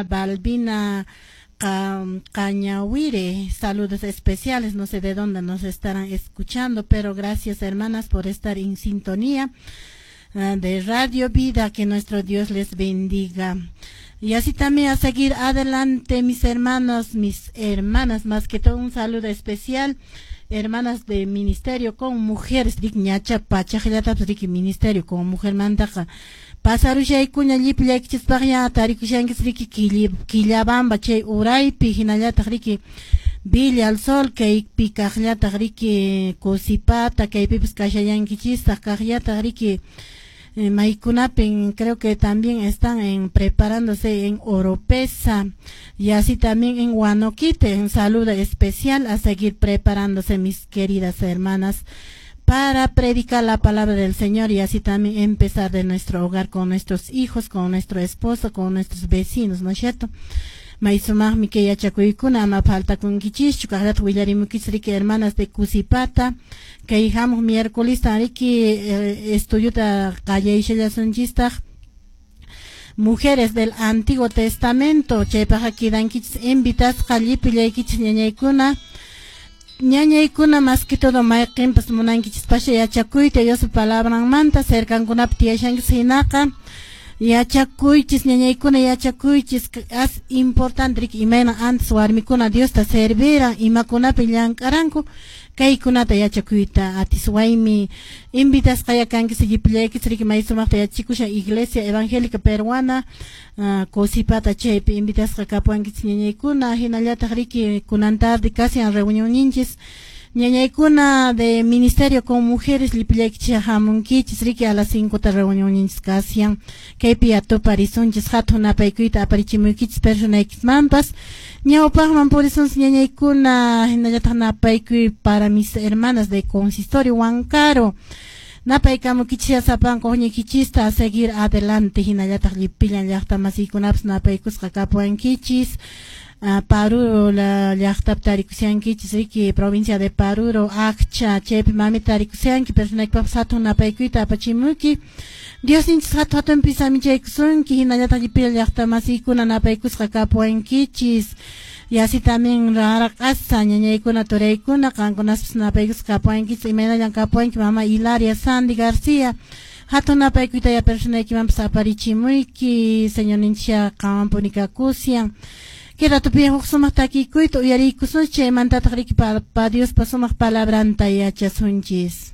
Balbina Cañahuire, saludos especiales, no sé de dónde nos estarán escuchando, pero gracias, hermanas, por estar en sintonía de Radio Vida, que nuestro Dios les bendiga. Y así también a seguir adelante, mis hermanos, mis hermanas, más que todo un saludo especial, hermanas de ministerio con mujeres, ñacha pachaqllatapis riki ministerio con mujer mantaqa pasarushaykuña llipillaykichispaqña tarikushankichis riki Quillabamba chay uraypi, hinallataq riki Villa al Sol kaypi kaqllataq riki Cusipata kaypipis kashallankichistaq kaqllataq riki maykunapin, creo que también están en preparándose en Oropesa y así también en Huanoquite. Un saludo especial, a seguir preparándose, mis queridas hermanas, para predicar la palabra del Señor y así también empezar de nuestro hogar con nuestros hijos, con nuestro esposo, con nuestros vecinos, ¿no es cierto? May sumaqmi kay yachakuykuna, ama faltakunkichischu. Kaqllataq willarimukichis riki hermanas de Cusipata, kay hamuq miércolesta riki estudiota qallayllasunchistaq Mujeres del Antiguo Testamento, chaypaqqa quedankichis invitasqa llipillaykichis ñañaykuna. Ñañaykuna, más que todo mayqinpas munankichis pasha yachakuyta Diospa palabranmanta, cercankunapi tiyashankichis hinaqa yachakuychis, ñañaykuna, yachakuychis. Es importante riki imayna antes warmikuna Diosta serviran, imakunapi llank'aranku, kaykunata yachakuyta atiswaymi. Invitasqaya kankichis llipillaykichis riki, may sumaqta yachachikushan Iglesia Evangélica Peruana Cusipata, chaypi invitasqa kapuwankichis, ñañaykuna. Hinallataq riki kunan tarde kashan reunionninchis, ñañaykuna de ministerio con mujeres, llipillaykichis hamunkichis riki, a las 5 ta reunionninchis kashan, kaypi atuparisunchis. Hatun napaykuyta aparichimuykichis personaykismanpas. Ñawpaqman purisunchis, ñañaykuna. Hinallataq napaykuy para mis hermanas de consistorio Huancaro, napaykamukichis sapanka huñuykichista, a seguir adelante. Hinallataq llipillan llaqta masiykunapas napaykusqa kapuwankichis. Paruro la llaqtapi tarikushankichis riki, provincia de Paruro, Accha chaypi mami tarikushanki, personaykipaqpas hatun napaykuyta apachimuyki. Diosninchis hatu hatunpi samichaykusunki. Hinallataq llipillan llaqta masiykuna napaykusqa kapuwankichis. Y así también raraq'asa ñañaykuna, turaykuna, qankunaspas napaykusqa kapuwankichis. Imaynallan kapuwanki, mama Hilaria Sandy García, hatun napaykuyta ya personaykimanpas aparichimuyki. Señorninchis qanwanpuni kakushan. Kay ratupi huk sumaq takikuyta uyariykusunchis, chaymantataq riki pa Diospa sumaq palabranta yachasunchis.